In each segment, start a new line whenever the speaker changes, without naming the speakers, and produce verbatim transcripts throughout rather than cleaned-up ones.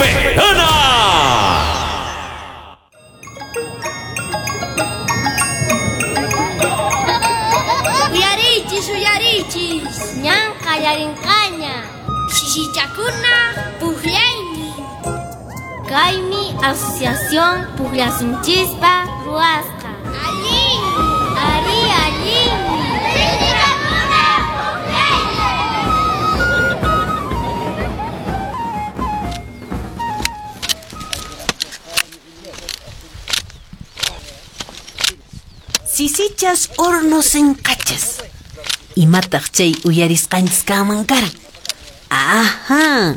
Soberana.
Uyarichis, uyarichis, ñan qallarinqaña. Sisichakuna pukllaymi. Kaymi asociación Pukllasunchispa ruwasqa. Allin, ari allinmi. Sisichakuna pukllaymi.
Sisichas horno sinqachas. Imataq chay uyarisqanchis kanman karan. Ajá,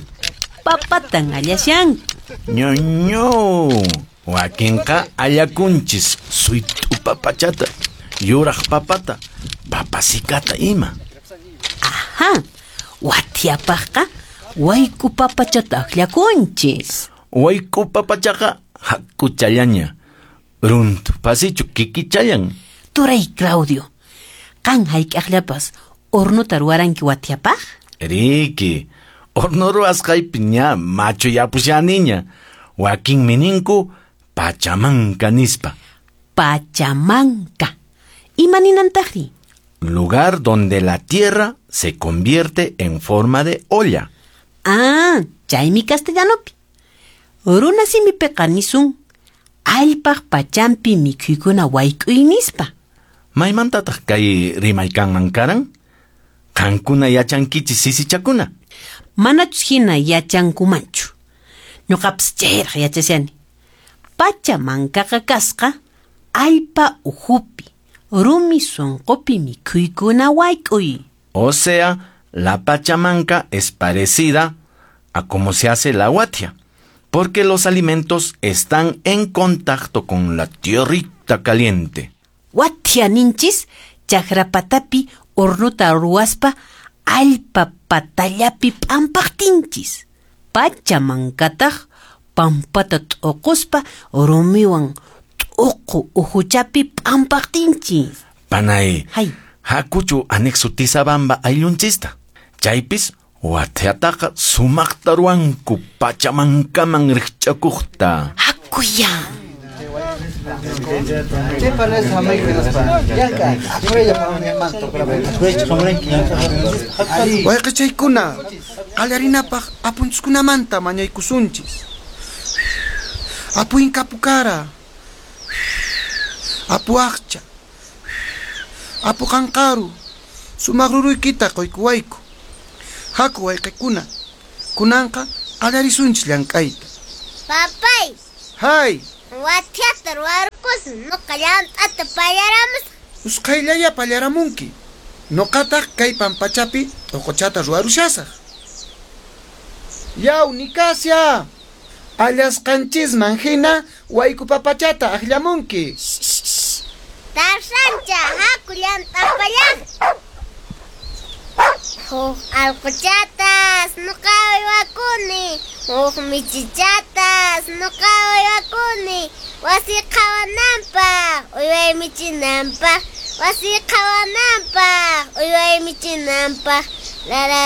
papatan allashanku.
Ñoño, wakinqa allakunchis suyt'u papachata, yuraq papata, papasikata ima.
Ajá, wathiapaqqa wayku papachata akllakunchis.
Wayku papachaqa hakuchallaña, runtu pasichu kikichallan.
Turay Claudio, qan hayk'aqllapas hornuta ruwaranki wathiapaq?
Riki, horno ruwasqaypi ña machuyapushaniña. Wakinmi ninku pachamanka nispa.
Pachamanka. Ima ninantaqri?
Lugar donde la tierra se convierte en forma de olla.
Ah, chaymi castellanopi. Runa simipiqa nisun allpaq pachampi mikhuykuna wayk'uy nispa.
Maymantataq kay rimay kanman karan? Qankuna yachankichis sisichakuna.
Manachus hina yachankumanchu. Ñuqapas chayraq yachashani. Pachamankaqa kasqa allpa uhupi, rumi sunqupi mikhuykuna wayk'uy.
O sea, la pachamanca es parecida a cómo se hace la huatia, porque los alimentos están en contacto con la tierrita caliente.
Wathia ninchis chakrapatapi hornuta ruwaspa allpa patallapi p'ampaqtinchis. Pachamankataq pampata t'uquspa rumiwan t'uqu uhuchapi p'ampaqtinchis.
Panay,
Hay.
hakuchu anexo Tizabamba ayllunchista. Chaypis wathiataqa sumaqta ruwanku pachamankaman riqch'akuqta.
Hakuya.
Wayqichaykuna, qallarinapaq apunchiskunamanta mañaykusunchis. Apu Inkapukara, Apu Aqcha, Apu Qanqaru, sumaq ruruykita quykuwayku. Haku wayqikuna, kunanqa qallarisunchis llank'ayta.
Papay,
Hay,
wathiata ruwarqusun, nuqa llant'ata pallaramusaq.
usqhayllaya pallaramunki. Nuqataq kay pampachapi t'uquchata ruwarushasaq. Yaw, Nicasia, allasqanchisman hina wayku papachata akllamunki.
Tarsancha, haku llant'a pallaq. Huk allquchatas nuqa uywakuni, huk michichatas nuqa uywakuni, wasi qhawananpaq, uyway michinanpaq, wasi qhawananpaq, uyway michinanpaq, la la.